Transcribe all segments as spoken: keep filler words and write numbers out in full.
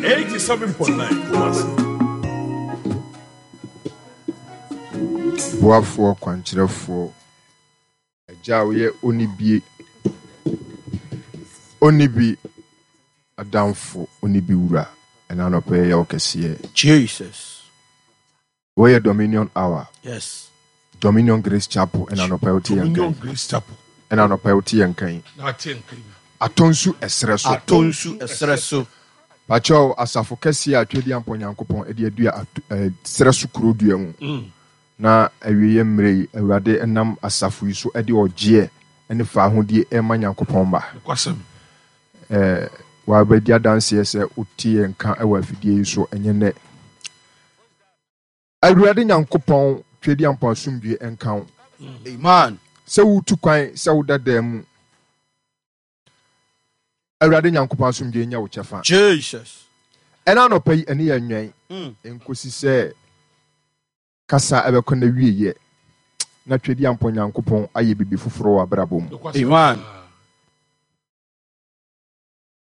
Eighty-seven point nine Kumasi. Boafoɔ, kwankyerɛfoɔ, agya a woyɛ onibie, onibi adamfo, onibi wura, ɛna anɔpɛ yɛ wo kɛseɛ. Jesus. Wɔyɛ Dominion Hour. Yes. Dominion Grace Chapel, ɛna anɔpɛ wote yɛn Dominion kan. Grace Chapel. Ɛna anɔpɛ wote yɛn kan. Na ate nka yi. Atɔ nsu ɛserɛ so. Atɔ nsu ɛserɛ so. Pakyɛw, asafo kɛseɛ a Twɛdi Ampɔ Nyankopɔn ɛde adua ato- ɛɛ, serɛ so kuro dua mu. Na awieeɛ mmerɛ yi, Awurade nam asafo yi so ɛde ɔgyeɛ ne faahodie ɛma Nyankopɔn mma. Nokwasɛm. Ɛɛ wabɛdi adanseɛ sɛ wote yɛn nka ɛwɔ afidie yi so ɛnyɛ nnɛ. Awurade Nyankopɔn, Twɛdi Ampɔ asomdwie ɛnka wo. Amen. Sɛ wotu kwan, sɛ woda dan mu, Awurade Nyankopɔn asomdwie nyɛ wo kyɛfa. Jesus. Ɛna anɔpa yi, ɛne yɛ nwɛn Mm. nkosi sɛ kasa ɛbɛkɔ na wieyɛ na Twɛdi Ampɔ Nyankopɔn ayɛ biribi foforɔ wɔ abrabɔ mu. Nokwasɛm. Amen.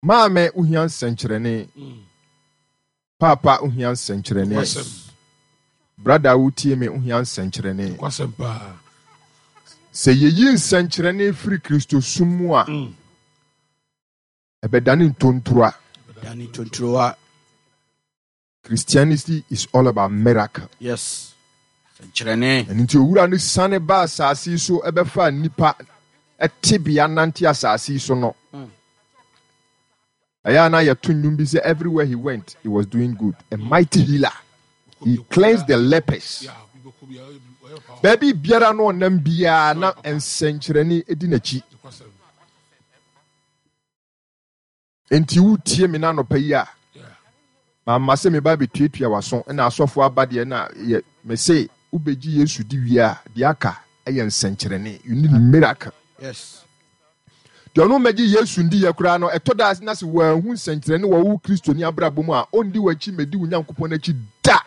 Maame, wohia nsɛnkyerɛnne. Mm. Paapa, wohia nsɛnkyerɛnne. Nokwasɛm. Brother a wotie me, wohia nsɛnkyerɛnne. Nokwasɛm paa. Sɛ yɛyi nsɛnkyerɛnne firi Kristosom mu a, Mm. ɛbɛdane ntontoa. Dani tontrowa. Christianity is all about miracle. Yes. Sɛnkyerɛnne. Ɛno nti owura no sane ba asase yi so ɛbɛfa nnipa ɛtebea nante asase yi so no, ɛyɛ a na yɛto nnwom bi sɛ everywhere he went, he was doing good, a mighty healer, he cleansed the lepers. Yeah, bi bɛkɔ bi, ɔyɛ ɔyɛ power. Baabi biara no ɔnam biara na nsɛnkyerɛnne di n'akyi. Nokwasɛm. Enti wotie me n'anɔpa yi a, Yeah. mamma sɛ meba bɛtuatua w'aso ɛna asɔfo aba deɛ na yɛ mese wobɛgye Yesu di wie a, deɛ aka ɛyɛ nsɛnkyerɛnne. You need miracle. Yes. Deɛ ɔno mmɛgye Yesu ndi yɛ koraa no, ɛtɔ da na sɛ wɔanhu nsɛnkyerɛnne wɔ wo Kristoni abrabɔ mu a, ɔndi w'akyi mmɛdi wo Nyankopɔn akyi da.